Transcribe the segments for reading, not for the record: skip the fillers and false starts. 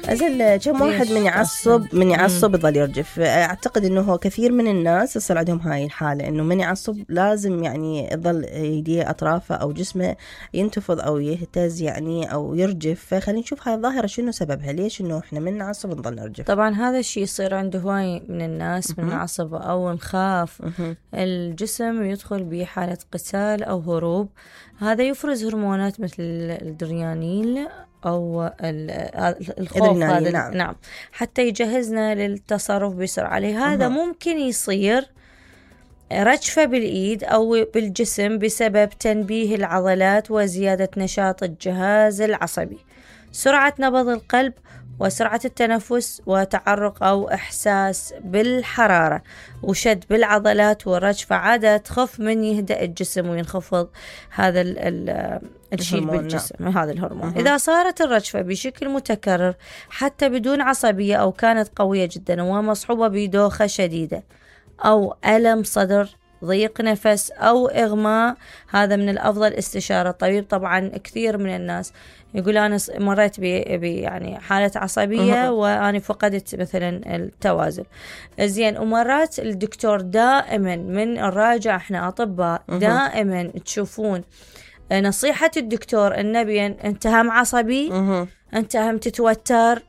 أزل كم واحد من يعصب يظل يرجف. أعتقد إنه هو كثير من الناس يصير عندهم هاي الحالة، إنه من يعصب لازم يعني يظل يديه أطرافه أو جسمه ينتفض أو يهتز يعني أو يرجف. فخلينا نشوف هاي الظاهرة شنو سببها، ليش إنه إحنا من نعصب نظل نرجف. طبعا هذا الشيء يصير عند هواي من الناس من نعصب أو نخاف الجسم يدخل بحالة قتال أو هروب، هذا يفرز هرمونات مثل الادرينالين أو الخوف هذا. نعم حتى يجهزنا للتصرف بسرعة. لهذا ممكن يصير رجفة بالإيد أو بالجسم بسبب تنبيه العضلات وزيادة نشاط الجهاز العصبي، سرعة نبض القلب وسرعة التنفس وتعرق أو إحساس بالحرارة وشد بالعضلات والرجفة عادة تخف من يهدأ الجسم وينخفض هذا الشيء بالجسم هذا الهرمون. إذا صارت الرجفة بشكل متكرر حتى بدون عصبية أو كانت قوية جدا ومصحوبة بدوخة شديدة أو ألم صدر ضيق نفس أو إغماء، هذا من الأفضل استشارة الطبيب. طبعا كثير من الناس يقول أنا مريت يعني حالة عصبية وأنا فقدت مثلا التوازن زين. ومرات الدكتور دائما من الراجع احنا أطباء دائما تشوفون نصيحة الدكتور النبي أنت هم عصبي، أنت هم تتوتر،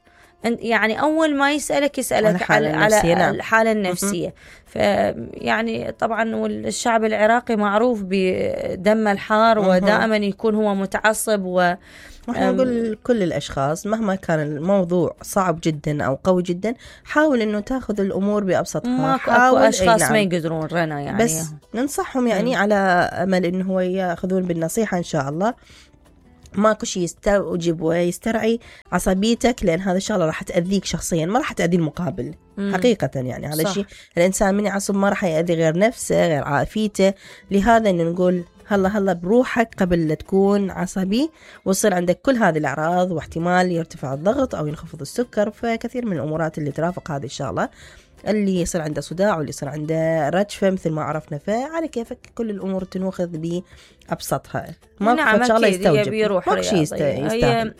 يعني أول ما يسألك على الحالة النفسية. فيعني طبعا والشعب العراقي معروف بدم الحار ودائما يكون هو متعصب احنا نقول كل الأشخاص مهما كان الموضوع صعب جدا أو قوي جدا حاول إنه تأخذ الأمور بأبسطها. أكو أشخاص ما يقدرون رنا يعني، بس ننصحهم يعني على أمل إنه هو يأخذون بالنصيحة إن شاء الله. ماكو شيء يستوجب ويسترعي عصبيتك، لأن هذا الشغلة راح تأذيك شخصيا ما راح تأذي المقابل حقيقة. يعني هذا الشيء الإنسان من يعصب ما راح يأذي غير نفسه غير عافيته. لهذا إنه نقول هلا بروحك قبل لا تكون عصبي ويصير عندك كل هذه الأعراض، واحتمال يرتفع الضغط أو ينخفض السكر. فكثير من الأمورات اللي ترافق هذه الشغلة، اللي يصير عنده صداع واللي يصير عنده رجفة مثل ما عرفنا. فعلى كيفك كل الأمور تنوخذ بأبسطها، ما شغلة يستوجب ماكو شيء يستاهل.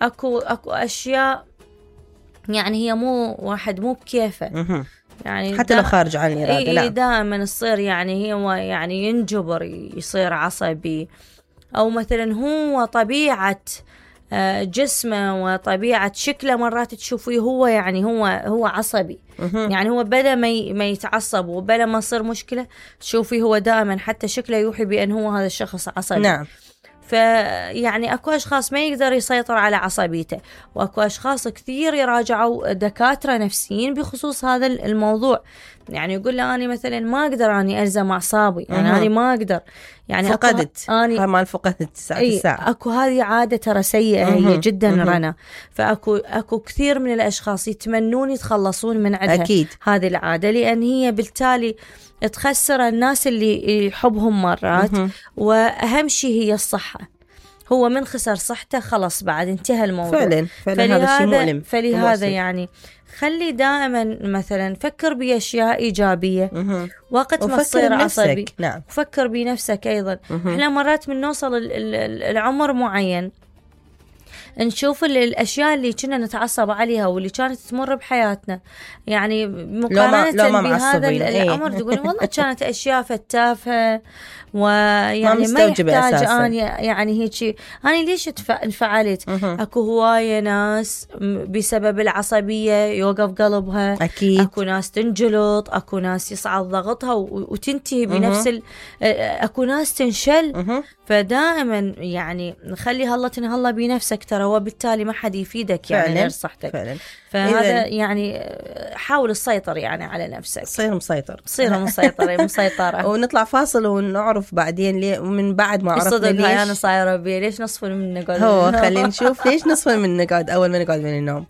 أكو أشياء يعني هي واحد مو بكيفه يعني حتى لو خارج عن الإرادة. دائما يصير يعني هو يعني ينجبر يصير عصبي، أو مثلا هو طبيعة جسمه وطبيعة شكله مرات تشوفيه هو يعني هو عصبي. يعني هو بلا ما يتعصب وبلا ما يصير مشكلة تشوفيه هو دائما حتى شكله يوحي بأن هو هذا الشخص عصبي. نعم. فيعني أكو أشخاص ما يقدر يسيطر على عصبيته، وأكو أشخاص كثير يراجعوا دكاترة نفسيين بخصوص هذا الموضوع. يعني يقول له أنا مثلا ما أقدر أني ألزم أعصابي، يعني أنا ما أقدر يعني فقدت ما فقدت الساعة. أكو هذه عادة ترى سيئة هي جدا رنا. فأكو كثير من الأشخاص يتمنون يتخلصون من عندها أكيد هذه العادة، لأن هي بالتالي تخسر الناس اللي يحبهم مرات. وأهم شيء هي الصحة، هو من خسر صحته خلاص بعد انتهى الموضوع. فعلا هذا الشيء مؤلم. فلهذا يعني خلي دائما مثلا فكر بأشياء إيجابية وقت ما تصير عصبي. نعم. فكر بنفسك أيضا. احنا مرات من نوصل العمر معين نشوف الأشياء اللي كنا نتعصب عليها واللي كانت تمر بحياتنا، يعني مقارنة بهذا الأمر تقول والله كانت أشياء فتافة ويعني ما يحتاج أنا يعني هيك أنا ليش انفعلت. أكو هواية ناس بسبب العصبية يوقف قلبها. أكيد. أكو ناس تنجلط، أكو ناس يصعد ضغطها وتنتهي بنفس أكو ناس تنشل. فدائما يعني خلي هلا تنهلا بنفسك ترى، وبالتالي ما حد يفيدك يعني غير صحتك. فعلا. فهذا يعني حاول السيطر يعني على نفسك، صير مسيطر مسيطرة. ونطلع فاصل ونعرف بعدين ليه، ومن بعد ما عرفنا ليش أنا صايرة بيه ليش نصفن من نقعد. هو خلينا نشوف ليش نصفن من نقعد أول ما نقعد من النوم.